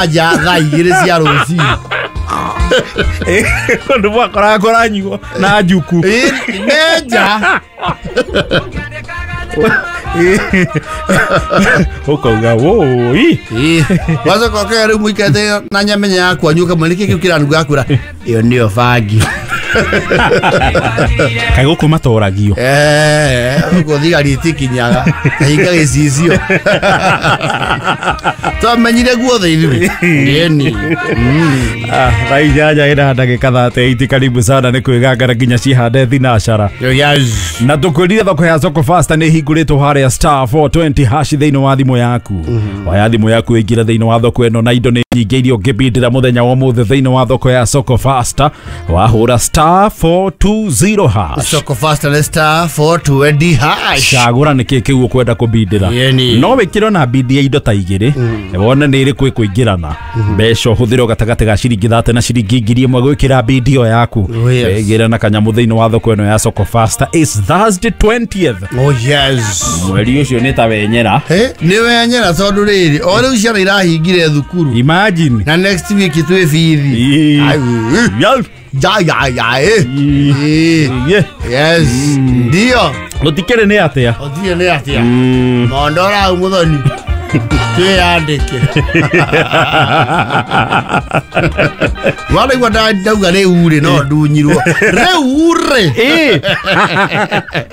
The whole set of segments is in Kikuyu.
Nja thaa 2 cia rũcinĩ. Kũndũ mwakoraga nyuo na njuku. Menja. Ũkauga wũi. Wacoka ũkauga rĩu mũikarĩte na nyamenya ya kwanyu ũkamwĩra nĩkĩ kĩu kĩranunga akwĩra ĩyo nĩyo bangi. Kaĩ gũkũ matoragio. Gũkũ thigari itikinyaga kahinga gĩcicio. Twamenyire guothe ithuĩ. Ĩni. Thaa 8 ĩna ndagĩka 38. Karibu sana nĩ kwĩgangara nginya cihande thinacara. Yes. Na tũkwĩrire thoko ya Soko Fasta nĩ ĩhingũrĩtwo harĩa star 420 hash thĩinĩ wa thimũ yaku. Oya thimũ yaku ĩingĩre thĩinĩ wa thoko ĩno na indo nĩ nyingĩ iria ũngĩbindĩra mũthenya wa ũmũthĩ thĩinĩ wa thoko ya Soko Fasta. Wahũra star 420 hash. Soko Fasta nĩ star 420 hash. Cagũra nĩkĩ kĩu ũkwenda kũbindĩra. Yeni. No wĩkĩre na bindi ya indo ta igĩrĩ wone nĩ ĩrĩkũ ĩkũingĩrana. Mbeca ũhũthĩre gatagatĩ ga ciringi 30 na ciringi 1000 gwĩkĩra bindi ĩyo yaku. Oh, yes. Wĩgĩre na kanyamũ thĩinĩ wa thoko ĩno ya Soko Fasta. It's Thursday 20th. Oh yes. Mweri ũcio nĩ ta wenyera. Nĩ wenyera tondũ rĩrĩ o rĩu ciana irahingire thukuru. Imagine. Na next week twĩ bithi. Yal. Ya ya ya. Yes. Ndio. Gũtikĩrĩ nĩ atĩa? Gũtirĩ nĩ atĩa? Mondora hau mũthoni. Twĩyandĩke. Wanaigua ndauga rĩu rĩ no ndunyirwo. Rĩu rĩ.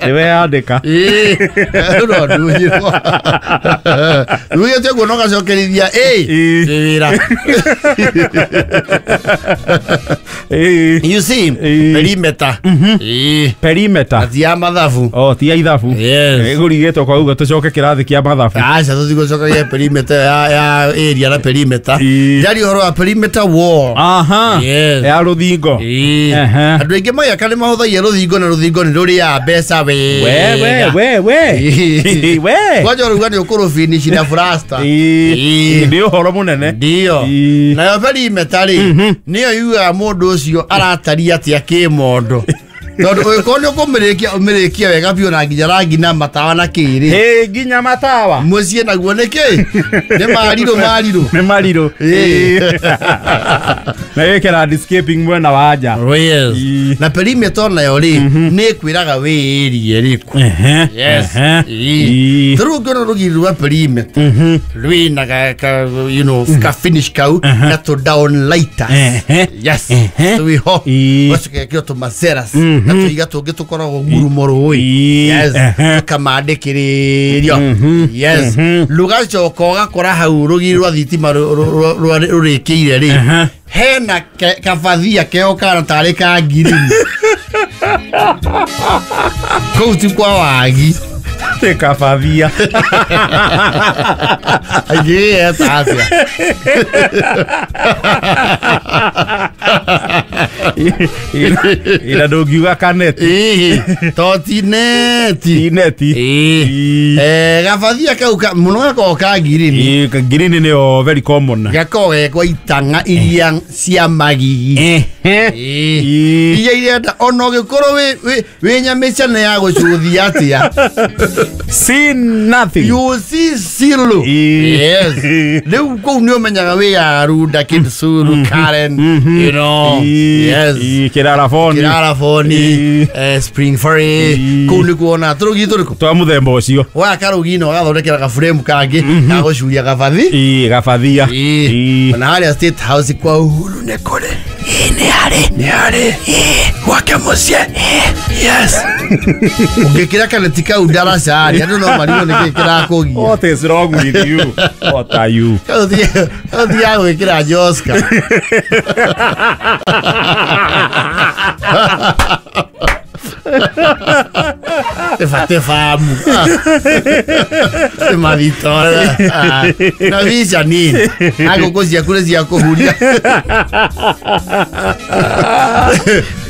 Nĩ weyandĩka. Rĩu no ndunyirwo. Rugĩte ũguo no gacokerithia ĩ. Nĩ wĩra. You see, perimeter. Perimeter. Ti ya mathabu. Oh, ti ya ithabu. Yes. Ĩgũrigĩtwo kwa uga tũcoke kĩrathi kĩa mathabu. Aca tũtigũcokagia perimeter ya area na perimeter. Njari ũhoro wa perimeter wall. Aha. Yes. Ya rũthingo. Andũ aingĩ magĩaka nĩ mahũthagia rũthingo na rũthingo nĩ rũrĩaga mbeca wega. We we we. We. Kwanja ũrauga nĩ ũkũrũbinici na plaster. Nĩ ũhoro mũnene. Ndio. Nayo perimeter rĩ nĩyo yugaga mũndũ ũcio arataria atĩa kĩmondo. Tondũ ũngĩkorwo nĩ ũkũmĩrĩkia ũmĩrĩkie wega biũ na nginya rangi na matawa na kĩrĩ. Ĩ nginya matawa. Mũciĩ naguo nĩ kĩ? Nĩ marirũ marirũ. Nĩ marirũ. Na wĩke landscaping mwena wa nja. Yes. Na perimeter nayo rĩ nĩ ĩkwĩraga wĩ area ĩrĩkũ. Yes. Rĩu ũngĩona rũgiri rwa perimeter rwĩna ka you know ka finish kau na tũ down lighters. Yes. Twĩho. Ũgacoka ĩkĩrwo tũmaceras na tũiga tũngĩ tũkoragwo ngurumo rũĩ. Yes. Tũkamandĩkĩrĩrio. Yes. Rũgacoka ũgakora hau rũgiri rwa thitima rũrĩkĩire rĩ hena kabathia keho kana tarĩ ka ngirini. Kũu ti kwa wagi. Nĩ kabathia. Aingĩ eta atĩa? Ira ndũngiuga kaneti. To ti neti. Ti neti. Gabathia kau mũno gakoragwo ka ngirini. Ngirini nĩyo very common. Gakoragwo ge kwa itang'a iria cia magigi. Iria irenda ona ũngĩkorwo wĩ nyamĩcane ya gũcuthia atĩa. See nothing. You see zero. Yes. Rĩu kũu nĩ ũmenyaga wĩ ya Runda, Kitsuru, Karen, you know. Yes. Kĩraraboni. Kĩraraboni, Spring Valley. Kũu nĩ kuona tũrũgi tũrĩkũ? Twa mũthemba ũcio. Waya karũgi na ũgathondekera gabũremu kangĩ ga gũcuria gabathi. Gabathia. Ona harĩa State House kwa Uhuru nĩ kũrĩ. Nĩ harĩ. Nĩ harĩ. Gwake mũciĩ. Yes. Ũngĩkĩra kaneti kau ndaraca harĩa andũ no marigwo nĩkĩ kĩrakũgia. What is wrong with you? What are you? Kau thiaga gwĩkĩra Joska. Tebate famu. Te na vica nini. Na ngũkũ ciaku nĩ cia kũhuria.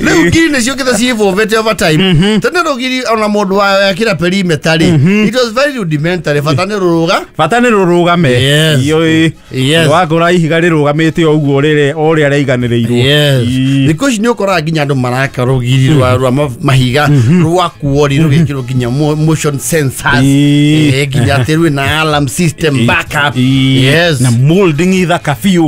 Rĩu ngiri nĩ ciũkĩte ciĩbũmbĩte over time. Tene rũgiri ona mũndũ wa yakĩra perimeter rĩ. It was very rudimentary. Bata nĩ rũrũga. Bata nĩ rũrũgame. Yes. Wagũra ihiga rĩrũgamĩte o ũguo rĩrĩ o ũrĩa rĩaiganĩrĩirwo. Yes. Thikũ ici nĩ ũkoraga nginya andũ maraka rũgiri rwa mahiga rwa kuori rũgĩkĩrwo Ĩkĩrwo nginya motion sensors. Ĩĩ. Nginya atĩ rwĩna alarm system backup. Ĩĩ. Yes. Na molding ithaka biũ.